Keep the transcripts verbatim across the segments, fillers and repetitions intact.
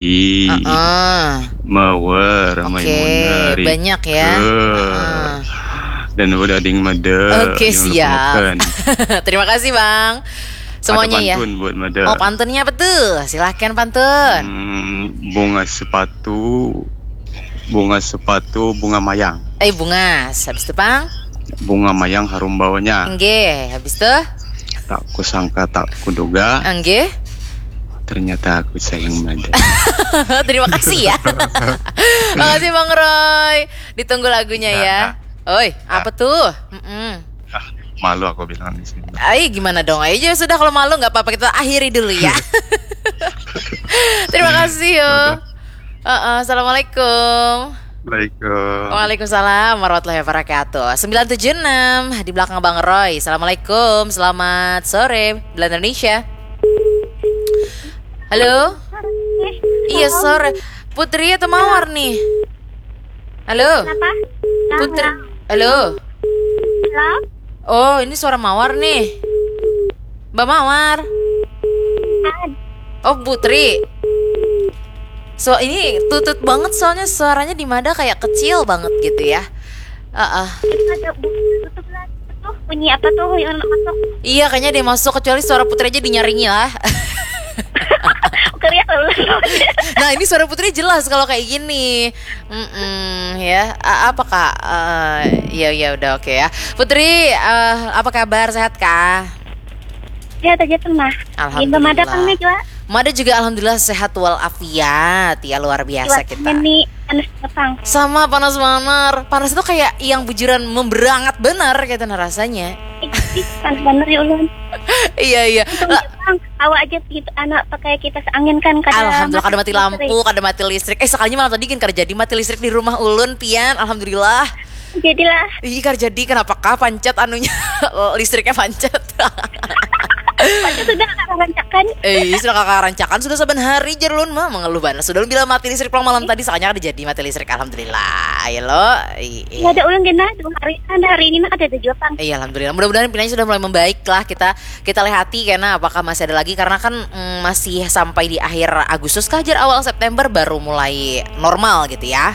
Ih, Heeh. Mawar, Oke, Maimunah, banyak ya. Rika. Heeh. Dan udah ding mada. Oke, jangan lupa siap. Makan. Terima kasih, Bang. Semuanya ya. Ada pantun buat mada. Oh, pantunnya apa tuh? Silahkan pantun. Hmm, bunga sepatu, bunga sepatu, bunga mayang. Eh, bungas. Habis itu, Bang? Bunga mayang harum baunya. Nggih, habis itu? Tak kusangka, tak kuduga. Nggih. Ternyata aku sayang mada. Terima kasih ya. Makasih, Bang Roy. Ditunggu lagunya ya. Nah, nah. Oi, nah. Apa tuh? Mm-mm. Ah, malu aku bilang di sini. Ai, gimana dong? Ayo sudah, kalau malu nggak apa-apa, kita akhiri dulu ya. Terima kasih yo. Udah. Heeh, assalamualaikum. Waalaikumsalam. Waalaikumsalam warahmatullahi wabarakatuh. Sembilan tujuh enam di belakang Bang Roy. Assalamualaikum, selamat sore, Bela Indonesia. Halo? Iya, sore. Putri atau Mawar nih? Halo? Kenapa? Putri. Halo? Halo? Oh, ini suara Mawar nih. Mbak Mawar. Ad. Oh, Putri. So, ini tutut banget soalnya suaranya di mada kayak kecil banget gitu ya. Heeh. Itu ada bu-, tutup lah. Tuh, bunyi apa tuh yang masuk? Iya, kayaknya dia masuk, kecuali suara Putri aja dinyaringi lah. Keriak lalu. Nah, ini suara Putri jelas kalau kayak gini. Mm-mm, ya. A-, apa, Kak? Eh, ya, ya udah, oke ya. Putri, eh, apa kabar? Sehat kah? Sehat aja tuh, Mah. Alhamdulillah. Mada juga? Mada juga alhamdulillah sehat walafiat. Ya, luar biasa. Cuacanya kita nih panas banget, Pang. Sama, panas banget. Panas itu kayak yang bujuran memberangat benar gitu nah rasanya. Ih, panas bener ya ulun. Iya, iya. Untung, Pang, awak aja gitu, anak pakai kipas angin kan, kada. Alhamdulillah, kada mati lampu, kada mati listrik. Eh, sekalinya malam tadi gin kada jadi mati listrik di rumah ulun, pian. Alhamdulillah. Jadilah. Ih, kada jadi, kenapa kah pancet anunya? Listriknya pancet. Pancet sudah kakak rancakan. Eh, sudah kakak rancakan, sudah saban hari jar ulun mah mengeluh banar. Sudah ulun bilang mati listrik pulang malam tadi, sakalinya kada jadi mati listrik, alhamdulillah. Ya lo. Ih, ih. Ada ulun gena dua hari, kan hari ini mah kada ada jua, Pang. Iya, alhamdulillah. Mudah-mudahan pinanya sudah mulai membaik lah. Kita, kita lihati kena apakah masih ada lagi, karena kan, mm, masih sampai di akhir Agustus kah jar, awal September baru mulai normal gitu ya.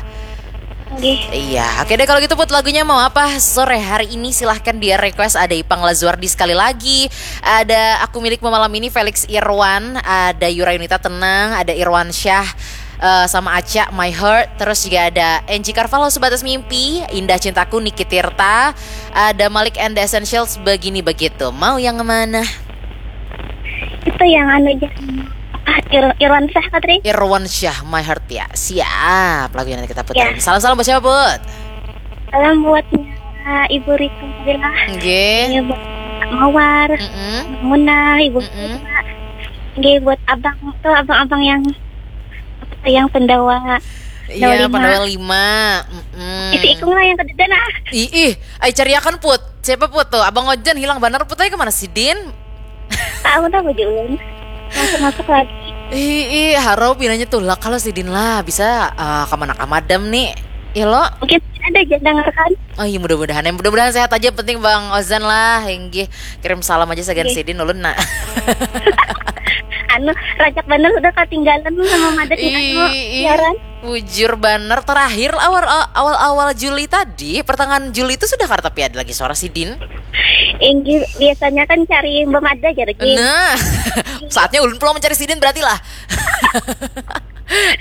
Nggih. Iya, oke deh kalau gitu Put, lagunya mau apa sore hari ini? Silahkan di request, ada Ipang Lazuardi sekali lagi, ada Aku Milikmu Malam Ini Felix Irwan, ada Yura Yunita Tenang, ada Irwan Syah, eh, sama Aca My Heart, terus juga ada Angie Carvalho Sebatas Mimpi, Indah Cintaku Niki Tirta, ada Malik and the Essentials Begini Begitu. Mau yang mana? Itu yang anu aja. Ah, Ir-, Irwan Syah, Katri. Irwan Syah, My Heart ya. Siap, lagunya nanti kita puterin. Ya. Salam-salam buat siapa, Put? Salam buat Ibu Rika Fadila. Nggih. Iya, buat Mawar, mm-mm. Muna, Ibu Rika. Nggih, buat abang tuh, abang-abang yang, apa tuh, yang pendawa. Iya, pendawa lima. Pendawa lima. Mm-mm. Isi ikung lah yang kedede nah. Ih, ih, ai cariakan, Put. Siapa, Put, tuh? Abang Ojan hilang banar, Put, ai kemana sidin? Tahu dah baju ulun. Masuk-masuk lagi. Ih, ih, harau pinanya tulak kalau sidin lah. Bisa, eh, kemana kah madam nih? Ya lo? Mungkin ada aja dengarkan. Oh iya, mudah-mudahan. Yang mudah-mudahan sehat aja, penting Bang Ozan lah. Inggih, kirim salam aja sagan sidin ulun nak. Anu, rajak bener sudah ketinggalan sama madat nih, anu, siaran. Bujur banar, terakhir awal, awal-awal Juli tadi, pertengahan Juli itu sudah kada tapi ada lagi suara sidin. Inggih, biasanya kan cari Mbak Mada aja lagi. Nah, saatnya ulun pulang mencari sidin berarti lah.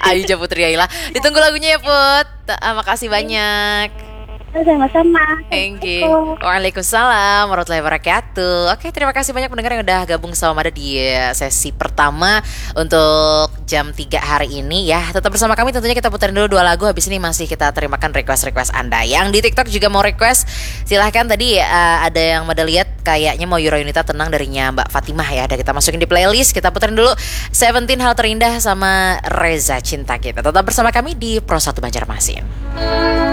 Ayu ja Putri Aila. Ditunggu lagunya ya, Put. Ah, makasih banyak. Sama-sama. Thank you. Assalamualaikum. Waalaikumsalam warahmatullahi wabarakatuh. Oke, terima kasih banyak pendengar yang udah gabung sama Mada di, eh, sesi pertama untuk jam tiga hari ini ya. Tetap bersama kami, tentunya kita puterin dulu dua lagu, habis ini masih kita terimakan request-request Anda. Yang di TikTok juga mau request, silahkan. Tadi, eh, ada yang Mada lihat kayaknya mau Yura Yunita Tenang darinya Mbak Fatimah ya. Ada kita masukin di playlist, kita puterin dulu Seventeen Hal Terindah sama Reza Cinta Kita. Tetap bersama kami di Pro satu Banjarmasin.